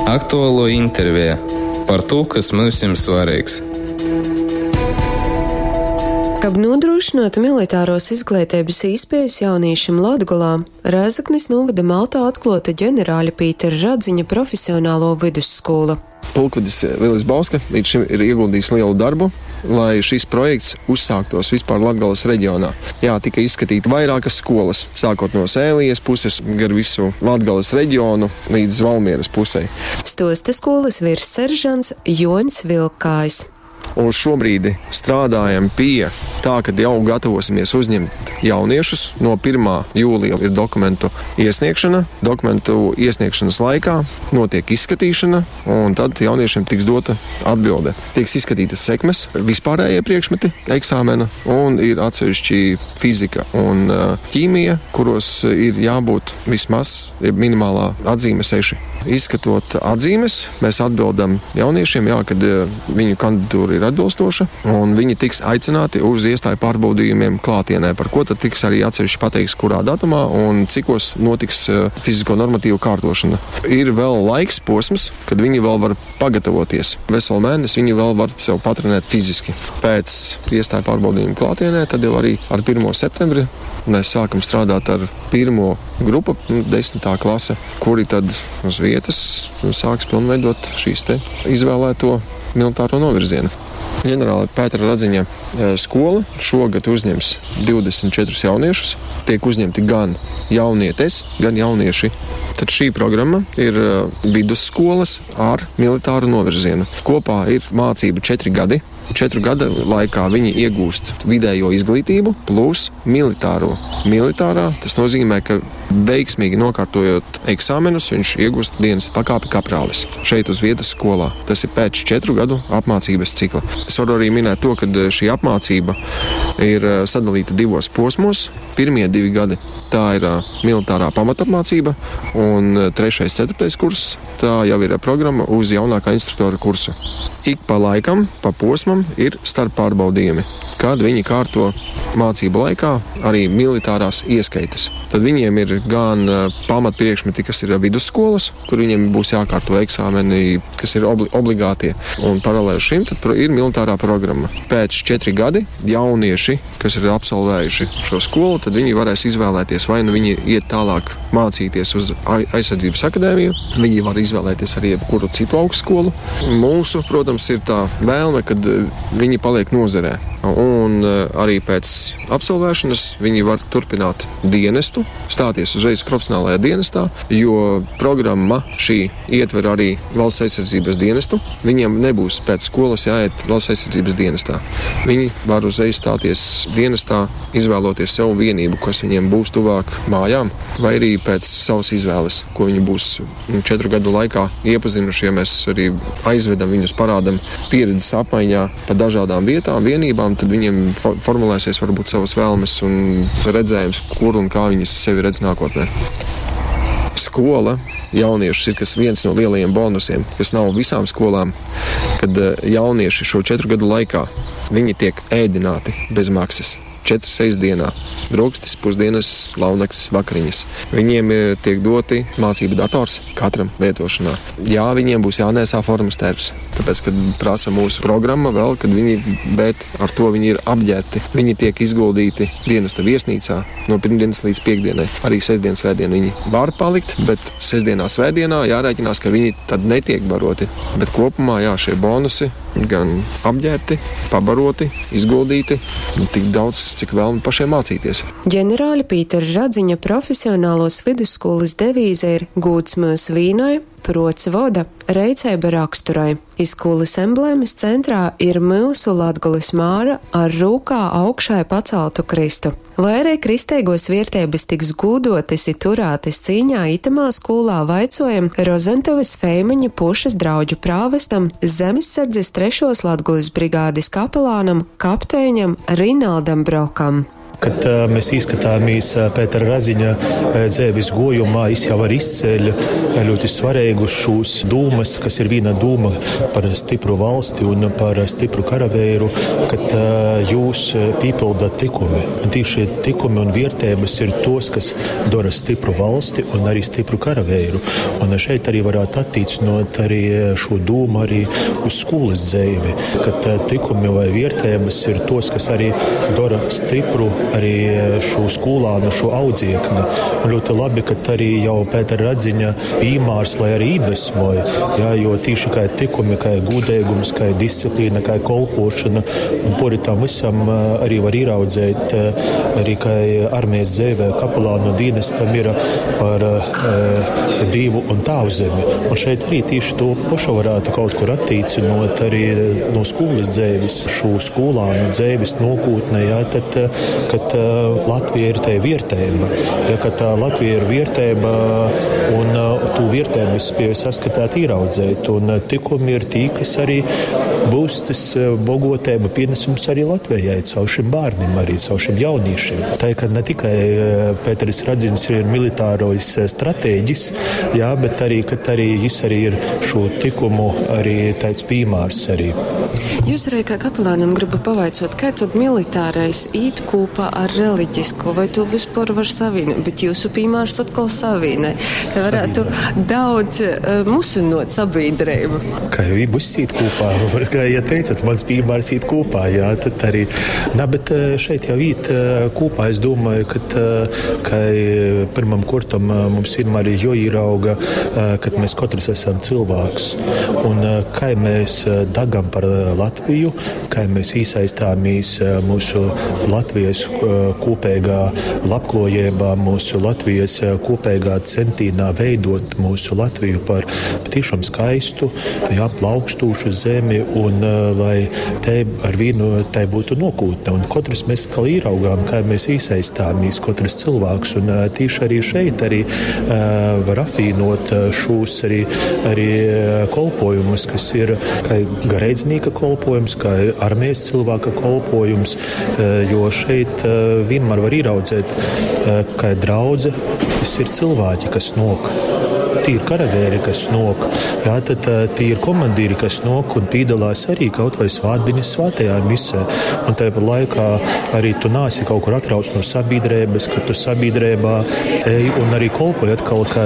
Aktualuo interveja par tū, kas myusim svareigs. Kab nūdrūšynuotu militaruos izgleiteibys īspiejis jaunīšim Latgolā, Rēzeknis nūvoda Maltā atkluota ģenerāļa Pītera Radziņa profesionaluo vydusskūla. Pulkvedis Vilis Bauska līdz šim ir ieguldījis lielu darbu, lai šis projekts uzsāktos vispār Latgales reģionā. Jā, tika izskatīti vairākas skolas, sākot no Sēlijas puses, gar visu Latgales reģionu līdz Valmieras pusei. Stuosta skolas virsseržants Joņs Vilkājs. Un šobrīd strādājam pie tā, kad jau gatavosimies uzņemt jauniešus. No 1. jūlija ir dokumentu iesniegšana. Dokumentu iesniegšanas laikā notiek izskatīšana, un tad jauniešiem tiks dota atbilde. Tiks izskatītas sekmes, vispārējie priekšmeti eksāmena, un ir atsevišķi fizika un ķīmija, kuros ir jābūt vismaz minimālā atzīme 6. Izskatot atzīmes, mēs atbildam jauniešiem, jā, kad viņu kandidatūra ir atbilstoša, un viņi tiks aicināti uz iestāju pārbaudījumiem klātienē, par ko tad tiks arī atsevišķi pateikts, kurā datumā un cikos notiks fizisko normatīvu kārtošana. Ir vēl laiks posms, kad viņi vēl var pagatavoties. Veselu mēnesi viņi vēl var sev patrenēt fiziski. Pēc iestāju pārbaudījuma klātienē, tad jau arī ar 1. septembri mēs sākam strādāt ar pirmo grupu, 10. klase, kuri tad uz vietas sāks pilnveidot šīs te izvēlēto militāro novirzienu. Ģenerāla Pētera Radziņa skola šogad uzņems 24 jauniešus. Tiek uzņemti gan jaunietes, gan jaunieši. Tad šī programma ir vidusskolas ar militāru novirzienu. Kopā ir mācība 4 gadi. 4 gadu laikā viņi iegūst vidējo izglītību plus militāro. Militārā tas nozīmē, ka veiksmīgi nokārtojot eksāmenus, viņš iegūst dienas pakāpi kaprālis šeit uz vietas skolā. Tas ir pēc 4 gadu apmācības cikla. Es varu arī minēt to, ka šī apmācība ir sadalīta divos posmos. Pirmie 2 gadi tā ir militārā pamatapmācība, un 3., 4. kurs tā jau ir programma uz jaunākā instruktora kursu. Ik pa laikam, pa posmam ir starppārbaudījumi, kad viņi kārto mācību laikā arī militārās ieskaites. Tad viņiem ir gan pamatpriekšmeti, kas ir vidusskolas, kur viņiem būs jākārto eksāmeni, kas ir obligātie. Un paralēli šim tad ir militārā programma. Pēc 4 gadi jaunieši, kas ir absolvējuši šo skolu, tad viņi varēs izvēlēties, vai nu viņi iet tālāk mācīties uz aizsardzības akadēmiju, viņi var izvēlēties arī jebkuru citu augstskolu. Mūsu, protams, ir tā vēlme, kad viņi paliek nozarē. Un arī pēc absolvēšanas viņi var turpināt dienestu, stāties uzreiz profesionālajā dienestā, jo programma šī ietver arī valsts aizsardzības dienestu. Viņiem nebūs pēc skolas jāiet valsts aizsardzības dienestā. Viņi var uzreiz stāties dienestā, izvēloties sev vienību, kas viņiem būs tuvāk mājām, vai arī pēc savas izvēles, ko viņi būs 4 gadu laikā iepazinuši, ja mēs arī aizvedam viņus, parādam pieredzes apmaiņā pa dažādām vietām, vienībām, tad viņiem formulēsies varbūt savas vēlmes un redzējums, kur un kā viņi sevi redz nākotnē. Skola jauniešus ir kas viens no lielajiem bonusiem, kas nav visām skolām, kad jaunieši šo 4 gadu laikā viņi tiek ēdināti bez maksas. 4 sestdienā, brokastis, pusdienas, launakts, vakariņas. Viņiem tiek doti mācību dators katram lietošanā. Jā, viņiem būs jānēsā formas tērps, tāpēc, kad prasa mūsu programma vēl, kad viņi, bet ar to viņi ir apģērbti. Viņi tiek izguldīti dienesta viesnīcā no pirmdienas līdz piekdienai. Arī sestdien, svētdien viņi var palikt, bet sestdienā, svētdienā jārēķinās, ka viņi tad netiek baroti. Bet kopumā, jā, šie bonusi gan apģērbti, pabaroti, izguldīti, tik daudz, cik vēlmi pašiem mācīties. Ģenerāļa Pītera Radziņa profesionālos vidusskolas devīze ir Gūds mūs vīnoj, prots voda, reiceiba raksturai. Izskolas emblēmas centrā ir mūsu Latgulis Māra ar rūkā augšai paceltu Kristu. Vai arī kristeigos viertības tiks gūdotis i turātis cīņā itamā skolā vaicojam Rozentovas Feimaņa pušas draudžu prāvestam, Zemessardzes 3. Latgulis brigādes kapelānam, kapteiņam Rinaldam Brokam. Kad mēs ieskatāmies Pētera Radziņa dzēvis gojumā, jis jau var izceļ ļoti svarīgus šūs dūmas, kas ir viena dūma par stipru valsti un par stipru karavēru, kad jūs pīpildat tikumi. Un tieši tikumi un vērtības ir tos, kas dara stipru valsti un arī stipru karavēru. Un šeit arī varētu attīcinot arī šo dūmu arī uz skolas dzēvi, kad tikumi vai vērtības ir tos, kas arī dara stipru arī šo skolānu, šo audziekni. Un ļoti labi, ka arī jau Pētera Radziņa pīmārs, lai arī iedvesmoja, jā, jo tīši kā tikumi, kā gudēgums, kā disciplīna, kā kolpošana, un pori tam visam arī var ieraudzēt, arī kā armijas dzēvē kapelānu dienestam ir par Dievu un tāvzemi. Un šeit arī tieši to pašu varētu kaut kur attīcinot arī no skolas dzēvis, šo skolānu dzēvis nokūtne, jā, tad, kad Latvija ir tai viertēba. Ja, kad Latvija ir viertēba un tu viertēbas spēj saskatāt, ieraudzēt. Un tikumi ir tī, kas arī būs tas bogotēba pienesums arī Latvijai, caur šim bērniem, arī caur šim jauniešiem. Tā ka ne tikai Pēteris Radzins ir militārojas stratēģis, jā, bet arī, kad arī jis arī ir šo tikumu arī tāds pīmārs arī. Jūs arī kā kapelānam gribu pavaicot, kā tad militārais īt kopā ar reliģisko, vai to vispār var savienot, bet jūsu pīmārs atkal savienē. Te varētu daudz musinot sabiedrību. Kā jau viss īt kopā, kā ja teicat, mans pīmārs īt kopā, jā, tad arī. Nā, bet šeit jau īt kopā, es domāju, kad, ka pirmam kurtam mums vienmēr ir joierauga, kad mēs katrs esam cilvēks. Un kā mēs dagam par Latviju, kā mēs iesaistāmies mūsu Latvijas kopīgā labklājībā, mūsu Latvijas kopīgā centīnā veidot mūsu Latviju par patiešām skaistu, jā, plaukstošu zemi un lai te ar vienu tai būtu nokūtne. Un katrs mēs atkal ieraugām, kā mēs iesaistāmies, katrs cilvēks. Un tīši arī šeit arī var apvienot šos arī, arī kolpojumus, kas ir kā garīdznieka kolpojums, kā armijas cilvēka kolpojums, jo šeit vienmēr var ieraudzēt, kā draudze, tas ir cilvēki, kas nok. Tie ir karavēri, kas nok, jā, tad tie ir komandīri, kas nok un piedalās arī kaut vai svētdienas svētajā misē. Un tāpat laikā arī tu nāsi kaut kur atrauc no sabiedrības, ka tu sabiedrībā ej un arī kolpoji atkal kā,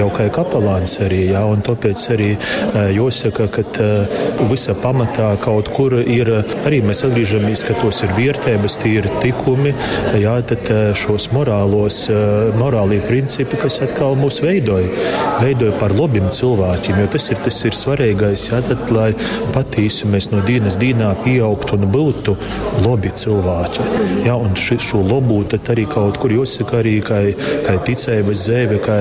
jau kā kapelāns arī, jā, un tāpēc arī jāsaka, ka visa pamatā kaut kur ir, arī mēs atgriežamies, ka tos ir vērtības, tie ir tikumi, jā, tad šos morālos, morālie principi, kas atkal mūs veidoja. Veidoja par labiem cilvēkiem, jo tas ir svarīgais, jā, tad, lai patīsi mēs no dienas dienā pieaugtu un būtu labi cilvēki. Jā, un šo labu tad arī kaut kur jāsaka arī, kā, kā ticības dzēve, kā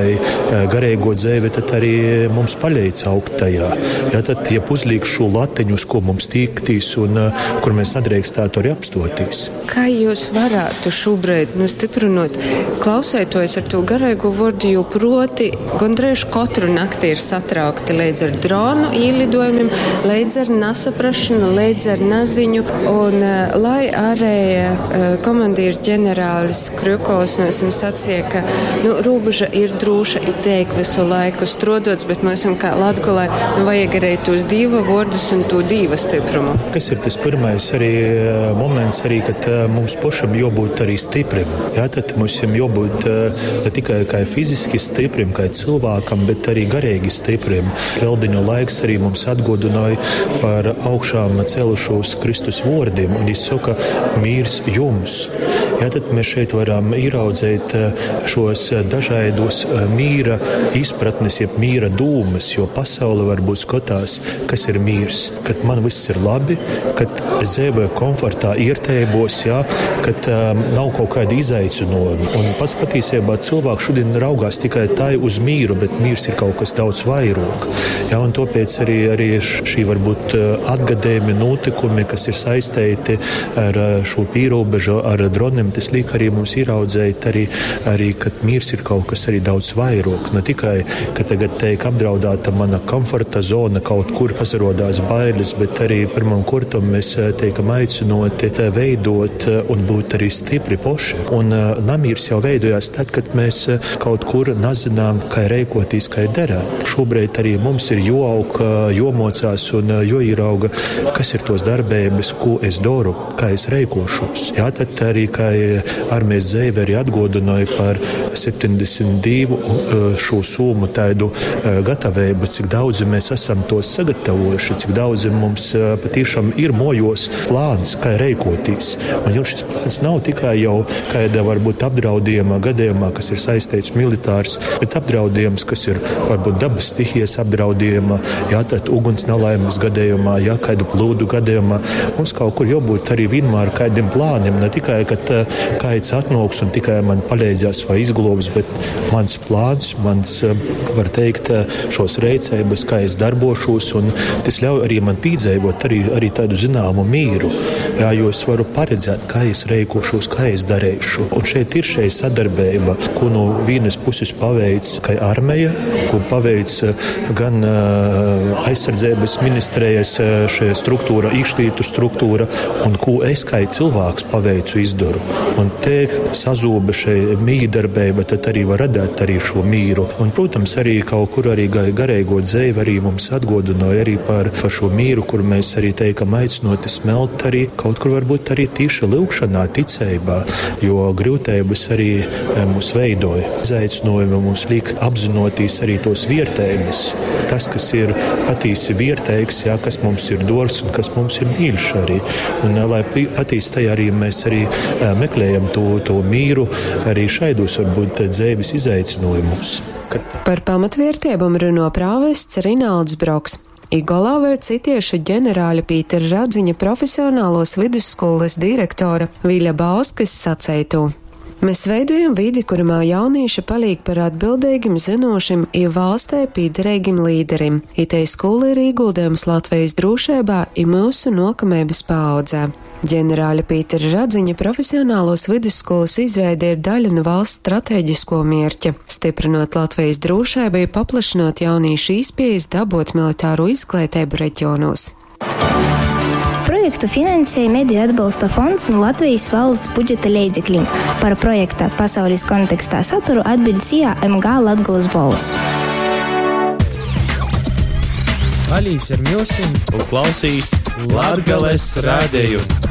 garīgo dzēve, tad arī mums palīdz augt tajā. Jā, tad, ja uzliek šo latiņu, uz ko mums tīktīs un kur mēs nedrīkstētu arī apstotīs. Kā jūs varētu šobrīd, nu, stiprinot, klausētojas ar to garīgo vārdu, jo proti gondreiž katru nakti ir satraukti līdz ar dronu ielidojumiem, līdz ar nesaprašanu, līdz ar naziņu. Un lai arī komandieru ģenerālis Krjukovs mēs esam sacīja, ka nu, robeža ir droša, ir teik visu laiku strodots, bet mēs esam kā Latgolai, nu, vajag arī tos dīva vārdus un to dīva stiprumu. Kas ir tas pirmais arī moments, arī, kad mums pašam jābūt arī stiprim? Jā, tad mums jābūt ne tikai kā fiziski stiprim, kā cilvēkam, bet arī garīgi stiprim. Lieldiņu laiks arī mums atgodināja par augšām celušos Kristus vārdiem, un viņš saka, mīrs jums. Jā, tad mēs šeit varam ieraudzēt šos dažādos mīra izpratnes, jeb mīra dūmas, jo pasaule varbūt skatās, kas ir mīrs. Kad man viss ir labi, kad es dzīvoju komfortā, iertēbos, jā, kad nav kaut kādi izaicinājumi. Un pats patiesībā cilvēks šodien raugās tikai tai uz mīru, bet mīrs ir kaut kas daudz vairāk. Jā, un tāpēc arī šī varbūt atgadējumi, notikumi, kas ir saistīti ar šo pierobežu, ar droniem, kurtam tas liek arī mums ieraudzēt, arī, arī, kad miers ir kaut kas arī daudz vairāk. Ne tikai, ka tagad tiek apdraudēta mana komforta zona, kaut kur pasarodās bailes, bet arī pirmam kurtam mēs tiekam aicinoti veidot un būt arī stipri poši. Un namīrs jau veidojās tad, kad mēs kaut kur nezinām, kā rēkotīs, kā derēt. Šobrīd arī mums ir joaug, jomocās un joierauga, kas ir tos darbības, ko es daru, kā es rēkošos. Jā, tad arī, kā armijas dzēve arī atgodināja par 72 šo summu tādu gatavību, cik daudzi mēs esam tos sagatavojuši, cik daudzi mums patiešām ir mojos plāns, kā rēkotīs. Un jau šis plāns nav tikai jau kāda varbūt apdraudījuma gadījumā, kas ir saistīts militārs, bet apdraudījums, kas ir varbūt dabas stihijas apdraudījuma, jā, tad uguns nelaimes gadījumā, jā, kādu plūdu gadījumā. Mums kaut kur jābūt arī vienmēr kādiem plāniem, ne tikai, kad kāds atnāks un tikai man palīdzēs vai izglābs, bet mans plāns, mans, var teikt, šos reicības, kā es darbošos, un tas ļauj arī man pīdzīvot arī, arī tādu zināmu mīru, jā, jo es varu paredzēt, kā es rēkošos, kā es darīšu. Un šeit ir šeit sadarbība, ko no vienas puses paveic kā armija, ko paveic gan aizsardzības ministrijas šī struktūra, iekšlietu struktūra, un ko es kā cilvēks paveicu izdaru. Un te sazoba šī mīdarbība, tad arī var radīt arī šo mīru. Un, protams, arī kaut kur arī garīgo dzīvi arī mums atgodināja arī par, par šo mīru, kur mēs arī teikam aicinoti smelt arī kaut kur varbūt arī tieši lūgšanā, ticībā, jo grūtības arī mūs veidoja. Izaicinājumi mums liek apzinoties arī tos vērtības. Tas, kas ir patīsi vērtīgs, jā, kas mums ir dors un kas mums ir mīļš arī. Un, lai patīsi tajā arī mēs arī meklējam to, to mīru arī šaidos varbūt dzīves izaicinājumus. Kad... Par pamatvērtībām runo prāvests Rinalds Broks. Igolā vēl citiešu ģenerāļa Pītera Radziņa profesionālos vidusskolas direktora Viļa Bauskas saceitu. Mēs veidojam vidi, kuramā jaunīši paliek par atbildīgim, zinošim i valstē pīderīgim līderim. Itei skola ir ieguldījums Latvijas drošībā i mūsu nokamības paaudzē. Ģenerāļa Pītera Radziņa profesionālos vidusskolas izveide ir daļa no valsts strateģisko mērķa, stiprinot Latvijas drošību, paplašinot jaunīšu īspējas dabūt militāro izglītību reģionos. Projektu finansēja Mediju atbalsta fonds no Latvijas valsts budžeta līdzekļiem. Par projekta pasaules kontekstā saturu atbild SIA MG Latgulas bols. Palīdz ar milsim un klausīs Latgales radējumu.